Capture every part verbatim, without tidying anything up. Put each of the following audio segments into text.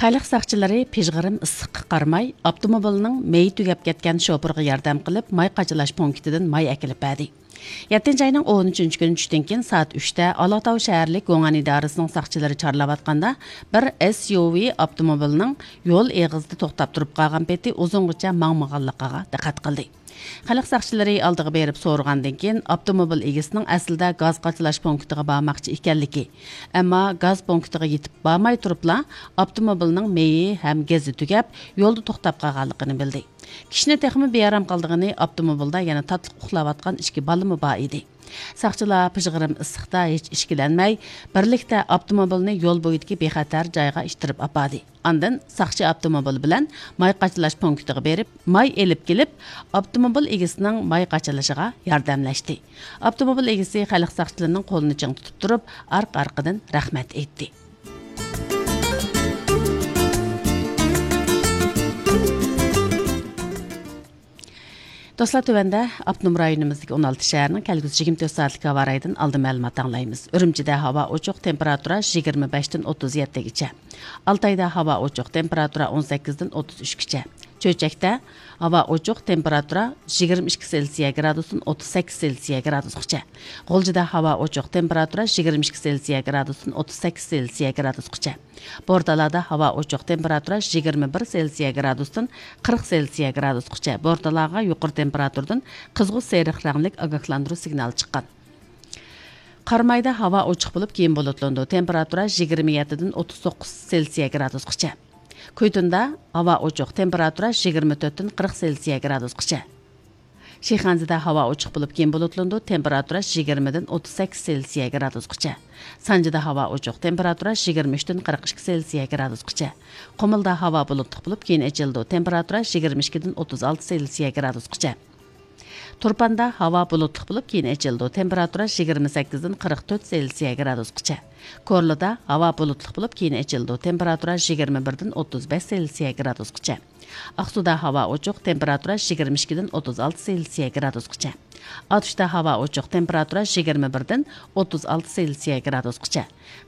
خەلق ساقچىلىرى پىژغىرىم ئىسسىققا قارىماي، ئاپتوموبىلنىڭ مېيى تۈگەپ كەتكەن شوپۇرغا ياردەم قىلىپ، ماي قاچىلاش پونكىتىدىن ماي ئەكېلىپ بەردى. يەتتىنچى ئاينىڭ ئون ئۈچىنچى كۈنى چۈشتىن كېيىن سائەت ئۈچتە ئالاتاۋ شەھەرلىك گوڭئەن ئىدارىسىنىڭ ساقچىلىرى چارلاۋاتقاندا، بىر ئېس يۇ ۋى ئاپتوموبىلنىڭ يول ئېغىزىدا توختاپ تۇرۇپ قالغان پېتى ئۇزۇنغىچە ماڭمىغانلىقىغا دىققەت قىلدى. خەلق ساقچىلىرى ئالدىغا بېرىپ سورىغاندىن كېيىن، ئاپتوموبىل ئىگىسىنىڭ ئەسلىدە گاز قاچىلاش پونكىتىغا بارماقچى ئىكەنلىكى، ئەمما گاز پونكىتىغا يېتىپ بارماي تۇرۇپلا، ئاپتوموبىلنىڭ مېيى ھەم گېزى تۈگەپ، يولدا توختاپ قالغانلىقىنى بىلدى. كىشىنى تېخىمۇ بىئارام قىلىدىغىنى، ئاپتوموبىلدا يەنە تاتلىق ئۇخلاۋاتقان ئىككى بالىمۇ بار ئىدى. ساقچىلار پىژغىرىم ئىسسىقتا ھېچ ئىچكىلەنمەي، بىرلىكتە ئاپتوموبىلنى يول بويىدىكى بىخەتەر جايغا ئىتتىرىپ ئاپاردى. ئاندىن ساقچى ئاپتوموبىل بىلەن ماي قاچىلاش پونكىتىغا بېرىپ، ماي ئېلىپ كېلىپ، ئاپتوموبىل ئىگىسىنىڭ ماي قاچىلىشىغا ياردەملەشتى. ئاپتوموبىل ئىگىسى خەلق ساقچىلىرىنىڭ قولىنى چىڭ تۇتۇپ تۇرۇپ، ئارقا-ئارقىدىن رەھمەت ئېيتتى. دوستلار، تۆۋەندە ئاپتونوم رايونىمىزدىكى ئون ئالتە شەھەرنىڭ كەلگۈسى يىگىرمە تۆت سائەتلىك ھاۋا رايىدىن ئالدىن مەلۇمات ئاڭلايمىز. ئۈرۈمچىدە ھاۋا ئوچۇق، تېمپېراتۇرا يىگىرمە بەشتىن ئوتتۇز يەتتىگىچە. ئالتايدا ھاۋا ئوچۇق، تېمپېراتۇرا ئون سەككىزدىن ئوتتۇز ئۈچكىچە. چۆچەكتە ھاۋا ئوچۇق، تېمپېراتۇرا يىگىرمە ئىككى سېلسىيە گرادۇستىن ئوتتۇز سەككىز سېلسىيە گرادۇسقىچە. غۇلجىدا ھاۋا ئوچۇق، تېمپېراتۇرا يىگىرمە ئىككى سېلسىيە گرادۇستىن ئوتتۇز سەككىز سېلسىيە گرادۇسقىچە. بورتالادا ھاۋا ئوچۇق، تېمپېراتۇرا يىگىرمە بىر سېلسىيە گرادۇستىن قىرىق سېلسىيە گرادۇسقىچە. بورتالاغا يۇقىرى تېمپېراتۇرىدىن قىزغۇ سېرىق رەڭلىك ئاگاھلاندۇرۇش سىگنالى چىققان. قارامايدا ھاۋا ئوچۇق بولۇپ، كېيىن بۇلۇتلىنىدۇ. تېمپېراتۇرا يىگىرمە يەتتىدىن ئوتتۇز توققۇز سېلسىيە گرادۇسقىچە. كويتۇندا ھاۋا ئوچۇق، تېمپېراتۇرا يىگىرمە تۆتتىن قىرىق سېلسىيە گرادۇسقىچە. شىخەنزىدە ھاۋا ئوچۇق بولۇپ، كېيىن بۇلۇتلىنىدۇ، تېمپېراتۇرا يىگىرمىدىن ئوتتۇز سەككىز سېلسىيە گرادۇسقىچە. سانجىدا ھاۋا ئوچۇق، تېمپېراتۇرا يىگىرمە ئۈچتىن قىرىق ئىككى سېلسىيە گرادۇسقىچە. قۇمۇلدا ھاۋا بۇلۇتلۇق بولۇپ، كېيىن ئېچىلىدۇ، تېمپېراتۇرا يىگىرمە ئىككىدىن ئوتتۇز ئالتە سېلسىيە گرادۇسقىچە. تۇرپاندا ھاۋا بۇلۇتلۇق بولۇپ، كېيىن ئېچىلىدۇ، تېمپېراتۇرا يىگىرمە سەككىزدىن قىرىق تۆت سېلسىيە گرادۇسقىچە. كورلىدا ھاۋا بۇلۇتلۇق بولۇپ، كېيىن ئېچىلىدۇ، تېمپېراتۇرا يىگىرمە بىردىن ئوتتۇز بەش سېلسىيە گرادۇسقىچە. ئاقسۇدا ھاۋا ئوچۇق، تېمپېراتۇرا يىگىرمە ئىككىدىن ئوتتۇز ئالتە سېلسىيە گرادۇسقىچە. ئاتۇشتا ھاۋا ئوچۇق، تېمپېراتۇرا يىگىرمە بىردىن ئوتتۇز ئالتە سېلسىيە گرادۇسقىچە.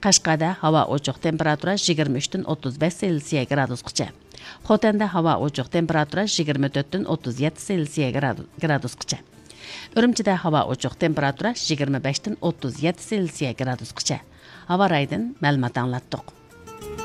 قەشقەردە ھاۋا ئوچۇق، تېمپېراتۇرا يىگىرمە ئۈچتىن ئوتتۇز بەش سېلسىيە گرادۇسقىچە. خوتەندە ھاۋا ئوچۇق، تېمپېراتۇرا يىگىرمە تۆتتىن ئوتتۇز يەتتە سېلسىيە گرادۇ-، گرادۇسقىچە. ئۈرۈمچىدە ھاۋا ئوچۇق، تېمپېراتۇرا يىگىرمە بەشتىن ئوتتۇز يەتتە سېلسىيە گرادۇسقىچە. ھاۋا رايىدىن مەلۇمات ئاڭلاتتۇق.